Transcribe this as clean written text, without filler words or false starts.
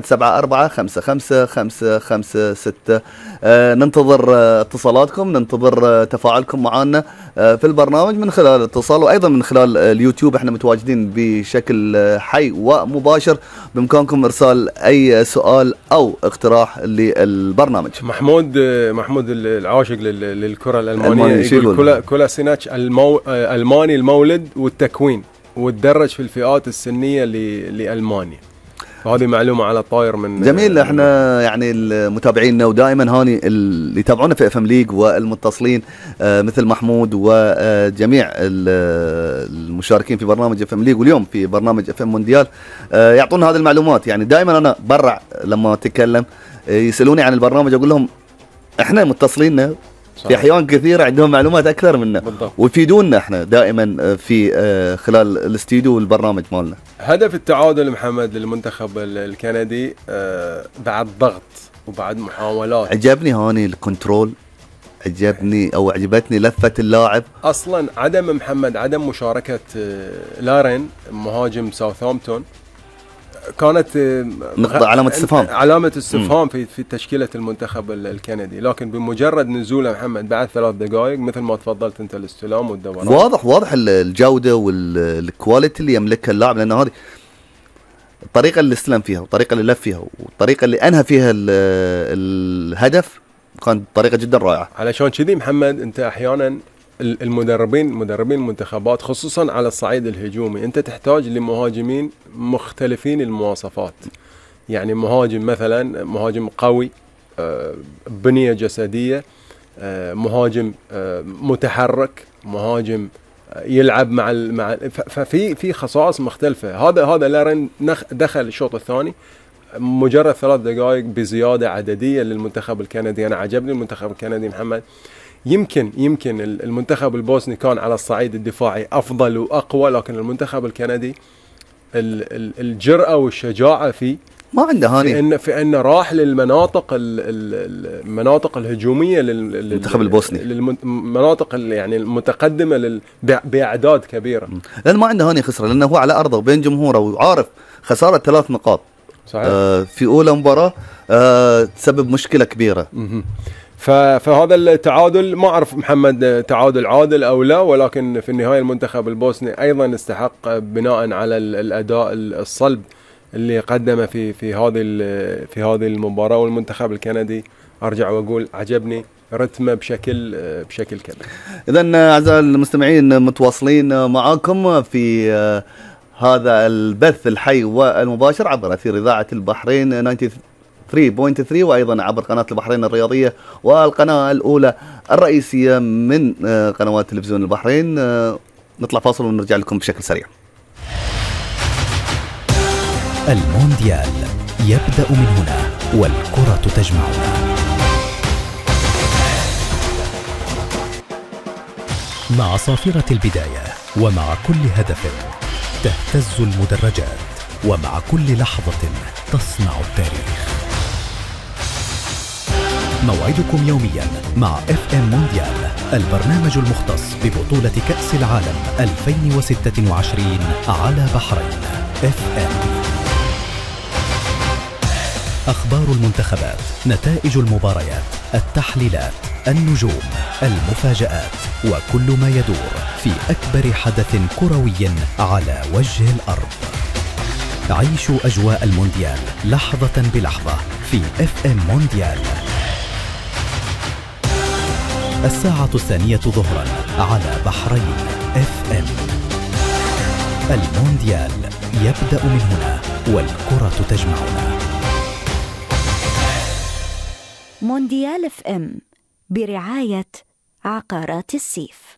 0174-55-556. ننتظر اتصالاتكم، ننتظر تفاعلكم معنا في البرنامج من خلال الاتصال، وأيضا من خلال اليوتيوب. احنا متواجدين بشكل حي ومباشر، بإمكانكم إرسال أي سؤال أو اقتراح للبرنامج. محمود العاشق للكرة الألمانية يقول كولاسيناتش ألماني المولد والتكوين، وتدرج في الفئات السنية لألمانيا. هذه معلومة على الطاير من جميل. احنا يعني المتابعين ودائما هاني اللي يتابعونا في FM ليج والمتصلين مثل محمود وجميع المشاركين في برنامج FM ليج واليوم في برنامج FM مونديال يعطونا هذه المعلومات. يعني دائما انا برع لما اتكلم يسألوني عن البرنامج، اقول لهم احنا متصلين في احيان كثيره عندهم معلومات اكثر منا بالضبط، ويفيدونا احنا دائما في خلال الاستديو والبرنامج مالنا. هدف التعادل محمد للمنتخب الكندي بعد ضغط وبعد محاولات. عجبني هاني الكنترول، عجبتني لفه اللاعب. اصلا عدم مشاركه لارين مهاجم ساوثهامبتون كانت نقطة علامة استفهام في تشكيلة المنتخب الكندي، لكن بمجرد نزوله محمد بعد 3 دقائق مثل ما تفضلت انت الاستلام والدوران، واضح الجودة والكواليتي اللي يملكها اللاعب، لأن هذه الطريقة اللي استلم فيها والطريقة اللي لف فيها والطريقة اللي أنهى فيها الهدف كانت طريقة جدا رائعة. علشان كذي محمد انت احيانا مدربين المنتخبات خصوصا على الصعيد الهجومي انت تحتاج لمهاجمين مختلفين المواصفات. يعني مهاجم قوي، بنية جسدية، مهاجم متحرك، مهاجم يلعب مع ففي خصائص مختلفة. هذا لارين دخل الشوط الثاني مجرد 3 دقائق بزيادة عددية للمنتخب الكندي. انا عجبني المنتخب الكندي محمد. يمكن المنتخب البوسني كان على الصعيد الدفاعي أفضل وأقوى، لكن المنتخب الكندي الجرأة والشجاعة فيه ما عنده هاني في أن راح المناطق الهجومية للمنتخب البوسني، المناطق يعني المتقدمة بأعداد كبيرة، لأن ما عنده هاني خسرة، لأنه هو على أرضه وبين جمهوره وعارف خسارة 3 نقاط صحيح. في أولى مباراة تسبب مشكلة كبيرة. فهذا التعادل ما أعرف محمد تعادل عادل أو لا، ولكن في النهاية المنتخب البوسني أيضا استحق بناء على الأداء الصلب اللي قدمه في هذه المباراة. والمنتخب الكندي أرجع وأقول عجبني رتمه بشكل كبير. إذن أعزائي المستمعين متواصلين معاكم في هذا البث الحي والمباشر عبر أثير إذاعة البحرين 93.3 وأيضا عبر قناة البحرين الرياضية والقناة الأولى الرئيسية من قنوات تلفزيون البحرين. نطلع فاصل ونرجع لكم بشكل سريع. المونديال يبدأ من هنا والكرة تجمعنا. مع صافرة البداية ومع كل هدف تهتز المدرجات، ومع كل لحظة تصنع التاريخ. موعدكم يوميا مع FM مونديال، البرنامج المختص ببطولة كأس العالم 2026 على بحرين FM. أخبار المنتخبات، نتائج المباريات، التحليلات، النجوم، المفاجآت، وكل ما يدور في أكبر حدث كروي على وجه الأرض. عيشوا أجواء المونديال لحظة بلحظة في FM مونديال. 2:00 ظهرا على بحرين FM. المونديال يبدأ من هنا والكرة تجمعنا. مونديال FM برعاية عقارات السيف.